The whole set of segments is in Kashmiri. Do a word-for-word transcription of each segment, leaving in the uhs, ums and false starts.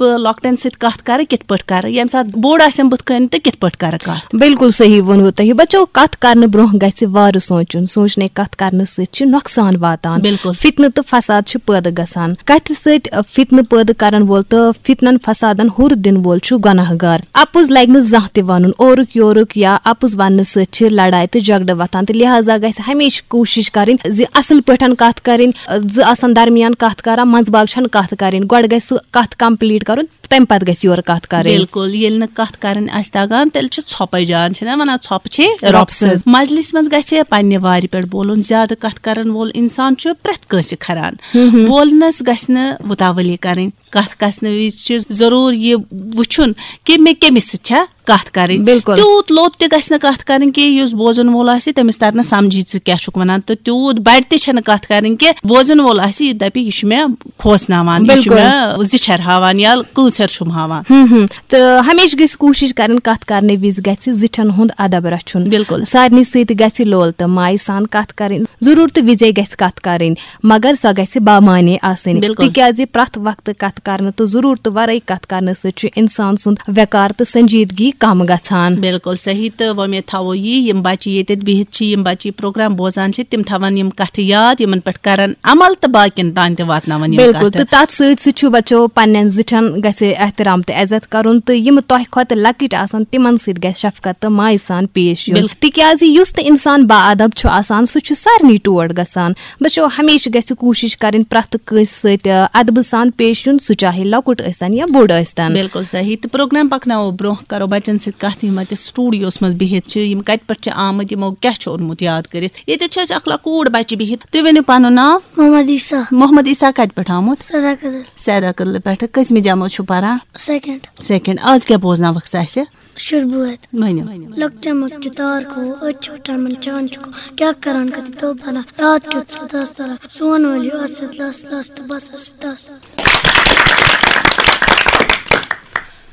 بہٕ لۄکٹٮ۪ن سۭتۍ کتھ کرٕ، کتھ پٲٹھۍ کرٕ، ییٚمہِ ساتہٕ بوٚڑ آسٮ۪م بُتھِ کنہِ تہٕ کتھ پٲٹھۍ کرٕ کتھ۔ بِلکُل صحیح ووٚنوٕ تۄہہِ۔ بچو، کتھ کرنہٕ برونٛہہ گژھِ وارٕ سونٛچُن۔ سونٛچنے کتھ کرنہٕ سۭتۍ چھِ نۄقصان واتان۔ بِلکُل۔ فتنہٕ تہٕ فساد چھِ پٲدٕ گژھان۔ کتھِ سۭتۍ فتنہٕ پٲدٕ کرن وول تہٕ فتنن فسادن ہُر دِنہٕ وول چھُ گۄناہ گار۔ اپُز لگہِ نہٕ زانٛہہ تہِ ونُن۔ اورُک یورُک یا اپُز وننہٕ سۭتۍ چھِ لڑایہِ تہٕ جھگڑٕ وۄتھان، تہٕ لہذا گژھِ ہمیشہِ کوٗشش کرٕنۍ زِ اصل پٲٹھۍ کتھ کرٕنۍ۔ زٕ آسن درمیان کتھ کران، منٛزباگ چھنہٕ کتھ کرٕنۍ، گۄڈٕ گژھِ سُہ کتھ complete کرُن، تمہِ پتہٕ گژھِ یورٕ کتھ کرٕنۍ۔ بِلکُل، ییٚلہِ نہٕ کتھ کرٕنۍ آسہِ تگان، تیٚلہِ چھِ ژھۄپے جان، چھِنہ ونان، ژھۄپہٕ چھے رۄب رۄب سٕنٛز۔ سٕنٛز۔ مجلس منٛز گژھِ پننہِ وارِ پٮ۪ٹھ بولُن۔ زیادٕ کتھ کرن وول انسان چھُ پرٛٮ۪تھ کٲنٛسہِ کھران۔ ہم ہم۔ بولنس گژھِ نہٕ وُتاولی کرٕنۍ۔ کتھ کرنہٕ وِزِ چھُ ضروٗر یہِ وُچھُن کہِ مےٚ کٔمِس سۭتۍ چھا کتھ کرٕنۍ۔ بِلکُل۔ تیوٗت لوٚت تہِ گژھِ نہٕ کتھ کرٕنۍ کہِ یُس بوزن وول آسہِ، تٔمِس ترِ نہٕ سمجھی ژٕ کیٛاہ چھُکھ ونان، تہٕ تیوٗت بڑِ تہِ چھنہٕ کتھ کرٕنۍ کہِ بوزن وول آسہِ، یہِ دپہِ، یہِ چھُ مےٚ کھوژناوان، یہِ چھُ بِلکُل۔ مےٚ زِچھر ہاوان یا کٲنٛسر چھُم ہاوان۔ ہم ہم۔ تہٕ ہمیشہِ گژھِ کوٗشِش کرٕنۍ، کتھ کرنہٕ وِزِ گژھِ زِٹھٮ۪ن ہُنٛد ادب رچھُن۔ بِلکُل۔ سارنٕے سۭتۍ گژھِ لول تہٕ مایہِ سان کتھ کرٕنۍ، ضروٗرتہٕ وِزے گژھِ کتھ کرٕنۍ، مگر سۄ گژھِ بامعنی آسٕنۍ۔ بِلکُل۔ تِکیازِ پرٛٮ۪تھ وقتہٕ کتھ کرنہٕ تہٕ ضروٗرتہٕ ورٲے کتھ کرنہٕ سۭتۍ چھُ انسان سُنٛد وقار تہٕ سنجیدگی کم گژھان۔ بِلکُل صحیح، تہٕ وۄمید تھاوو یی، یِم بچہِ ییٚتٮ۪تھ بِہِتھ چھِ، یِم بچہِ یہِ پروگرام بوزان چھِ، تِم تھاون یِم کتھٕ یاد، یِمن پٮ۪ٹھ کرن عمل تہٕ باقین تام تہِ واتناون یِم بِلکُل۔ کتھٕ۔ تہٕ تتھ سۭتۍ سۭتۍ چھُ بچو پننٮ۪ن زِٹھٮ۪ن گژھِ احترام تہٕ عزت کرُن، تہٕ یِم تۄہہِ کھۄتہٕ لۄکٕٹۍ آسن، تِمن سۭتۍ گژھِ شفقت تہٕ مایہِ سان پیش یُن۔ بِلکُل۔ تِکیازِ یُس تہِ انسان با ادب چھُ آسان، سُہ چھُ سارنٕے ٹوٹھ گژھان۔ بچو، ہمیشہِ گژھِ کوٗشِش کرٕنۍ پرٛٮ۪تھ کٲنٛسہِ سۭتۍ، آ، ادبہٕ سان پیش یُن، سُہ چاہے لۄکُٹ ٲسۍتن یا بوٚڑ ٲسۍتن۔ بِلکُل صحیح۔ تہٕ پروگرام پکناوو برونٛہہ، کرو بچن سۭتۍ کتھ، یِم اتہِ سٹوڈیوس منٛز بِہِتھ چھِ، یِم کتہِ پٮ۪ٹھ چھِ آمٕتۍ، یِمو کیٛاہ چھُ اوٚنمُت یاد کٔرِتھ۔ ییٚتٮ۪تھ چھِ اَسہِ اکھ لۄکوٗٹ بچہِ بِہِتھ۔ تُہۍ ؤنِو پنُن ناو؟ محمد عیسیٰ۔ محمد عیسیٰ کتہِ پٮ۪ٹھ آمُت؟ سیدا کدل۔ سیدا کدلہٕ پٮ۪ٹھٕ۔ کٔژمہِ جمٲژ چھُو پران؟ سیکنڈ۔ سیکنڈ۔ آز کیٛاہ بوزناوکھ ژٕ اَسہِ؟ شُربوت۔ ؤنِو۔ لۄکچہِ مۄکچہِ تار کھو، أتۍ چھِ وٕٹھان یِمن چانٛد چھُ کھو۔ کیٛاہ کران کتہِ دۄہ بنان، یاد کیُتھ چھُ دس تران۔ سون وٲلۍ ہیوٗ اَتھ سۭتۍ لس لس تہٕ بس اَسہِ دس۔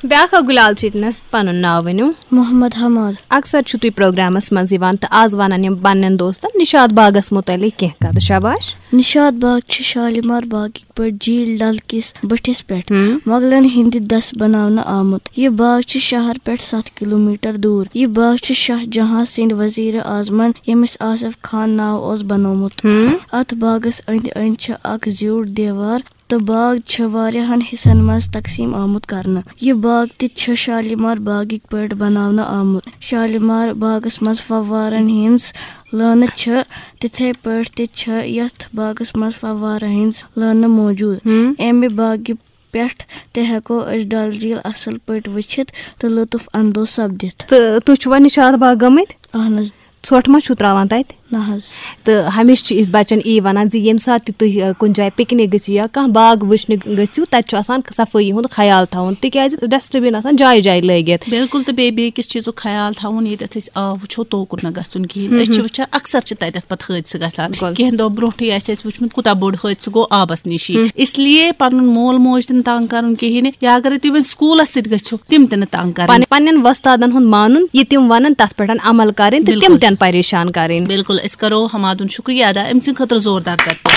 بیٛاکھ اکھ گُلال چھُ ییٚتنس، پنُن ناو ؤنِو۔ محمد حماد۔ اکثر چھِو تُہۍ پروگرامس منٛز یِوان تہٕ آز ونان یِم پننٮ۪ن دوستن نشاط باغس متعلق کینٛہہ کتھٕ۔ شاباش۔ نشاط باغ چھُ شالیمار باغٕکۍ پٲٹھۍ جھیل ڈل کِس بٔٹھِس پٮ۪ٹھ ہم۔ مغلن ہٕنٛدِ دٔسۍ بناونہٕ آمُت۔ یہِ باغ چھُ شہر پٮ۪ٹھ ستھ کلومیٹر دوٗر۔ یہِ باغ چھُ شاہ جہاں سٕنٛدِ وزیر اعظمن، ییٚمِس آصف خان ناو اوس، بنوومُت۔ ہم۔ اتھ باغس أنٛدۍ أنٛدۍ چھِ اکھ زیوٗٹھ دیوار تہٕ باغ چھُ واریاہن حصن منٛز تقسیٖم آمُت کرنہٕ۔ یہِ باغ تہِ چھُ شالیمار باغٕکۍ پٲٹھۍ بناونہٕ آمُت۔ شالیمار باغس منٛز فوارن ہٕنٛز لٲنہٕ چھِ، تِتھے پٲٹھۍ تہِ چھِ یتھ باغس منٛز فوارن ہٕنٛز لٲنہٕ موجود۔ ہم۔ امہِ باغہِ پٮ۪ٹھ تہِ ہٮ۪کو أسۍ ڈل جھیل اصل پٲٹھۍ وٕچھِتھ تہٕ لطف اندوز سپدِتھ۔ تہٕ تُہۍ چھِوا نشاط باغ گٔمٕتۍ؟ اہن حظ۔ ژھۄٹھ ما چھُو ترٛاوان تتہِ؟ نہ حظ۔ تہٕ ہمیشہِ چھِ أسۍ بچن یی ونان زِ ییٚمہِ ساتہٕ تہِ تُہۍ، ٲ، کُنہِ جایہِ پکنک گٔژھِو یا کانٛہہ باغ وٕچھنہِ گٔژھِو، تتہِ چھُ آسان صفٲیی ہُنٛد خیال تھاوُن، تِکیازِ ڈسٹبن آسان جایہِ جایہِ لٲگِتھ۔ بِلکُل، تہٕ بیٚیہِ بیٚیہِ کِس چیٖزُک خیال تھاوُن، ییٚتٮ۪تھ أسۍ آب وٕچھو، توکُن نہٕ گژھُن کِہیٖنۍ۔ ہم أسۍ چھِ ہم۔ وٕچھان، اکثر چھِ تتٮ۪تھ پتہٕ حٲدثہٕ گژھان۔ بِلکُل۔ کینٛہہ دۄہ برونٛٹھٕے آسہِ اَسہِ وٕچھمُت، کوٗتاہ بوٚڑ حٲدثہٕ گوٚو آبس نِشی۔ ہم۔ اس لیے پنُن مول موج تہِ نہٕ تنگ کرُن کِہیٖنۍ، یا اگرے تُہۍ وۄنۍ سکوٗلس سۭتۍ گٔژھِو، تِم تہِ نہٕ تنگ کرٕنۍ۔ پن-، پننٮ۪ن وۄستادن ہُنٛد مانُن، یہِ تِم ونن، تتھ پٮ۪ٹھ عمل کرٕنۍ تہٕ تِم بِلکُل۔ تہِ نہٕ پریشان کرٕنۍ۔ بِلکُل، أسۍ کرو حمادُن شُکریہ ادا، أمۍ سٕنٛدِ خٲطرٕ زوردار چپٹہٕ۔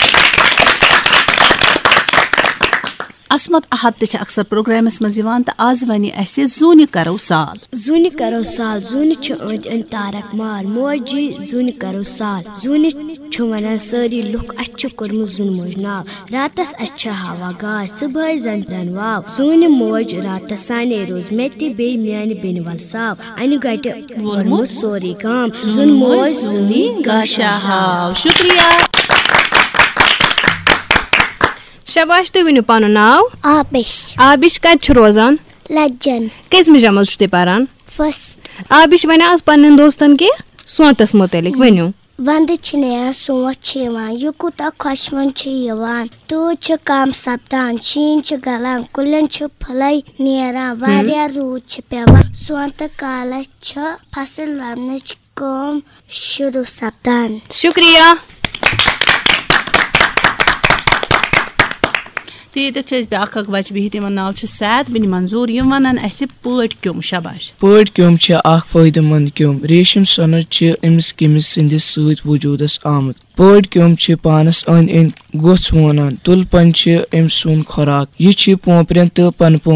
عصمت احد تہِ چھِ اکثر پروگرامس منٛز یِوان تہٕ آز ونہِ اَسہِ زوٗنہِ کرو سال۔ زوٗنہِ کرو سال، زوٗنہِ چھُ أنٛدۍ أنٛدۍ تارک مار، موجی زوٗنہِ کرو سال۔ زوٗنہِ چھُ ونان سٲری لُکھ، اَسہِ چھُ کوٚرمُت زوٗنہٕ موج ناو۔ راتس اَسہِ چھِ ہوا گاش، صُبحٲے زنجرن واو۔ زوٗنہِ موج راتس سانے روز، مےٚ تہِ بیٚیہِ میانہِ بیٚنہِ ول ساو۔ انہِ گٹہِ ووٚنمُت سورُے گام، زوٗنہٕ موج زوٗنی گاشا ہاو۔ شُکریہ۔ شاباش، تُہۍ ؤنِو پنُن ناو۔ آبِش۔ آبِش کتہِ چھُ روزان؟ لجن۔ کٔژمہِ جمٲژ چھُو تُہۍ پران؟ فرسٹ۔ آبِش، وَنہِ آز پننٮ۪ن دوستن کینٛہہ سونتس مُتعلق ؤنِو۔ ونٛدٕ چھِ نیران، سونٛتھ چھِ یِوان، یہِ کوٗتاہ خۄشوُن چھُ یِوان۔ تۭر چھِ کم سپدان، شیٖن چھِ گلان، کُلٮ۪ن چھِ پھُلے نیران، ہم۔ واریاہ روٗد چھِ پٮ۪وان۔ سونٛتہٕ کالس چھِ فصل ووننٕچ کٲم شروٗع سپدان۔ شُکریہ۔ تہٕ ییٚتٮ۪تھ چھِ أسۍ بیٛاکھ اکھ بَچہٕ بِہِتھ، یِمن ناو چھُ سعد بِن منظور۔ یِم وَنَن اَسہِ پٲٹۍ کیوٚم۔ شاباش۔ پٲٹۍ کیوٚم چھِ اکھ فٲیدٕ مند کیوٚم۔ ریشم سۄنَر چھِ أمِس کیٚمِس سٕنٛدِس سۭتۍ وجوٗدس آمٕژ۔ پٲٹۍ کیوٚم چھِ پانس أنٛدۍ أنٛدۍ گوٚژھ وونان۔ تُلہٕ پنہِ چھِ أمۍ سُنٛد خوراک۔ یہِ چھِ پونٛپرٮ۪ن تہٕ پنہٕ پونٛپرٮ۪ن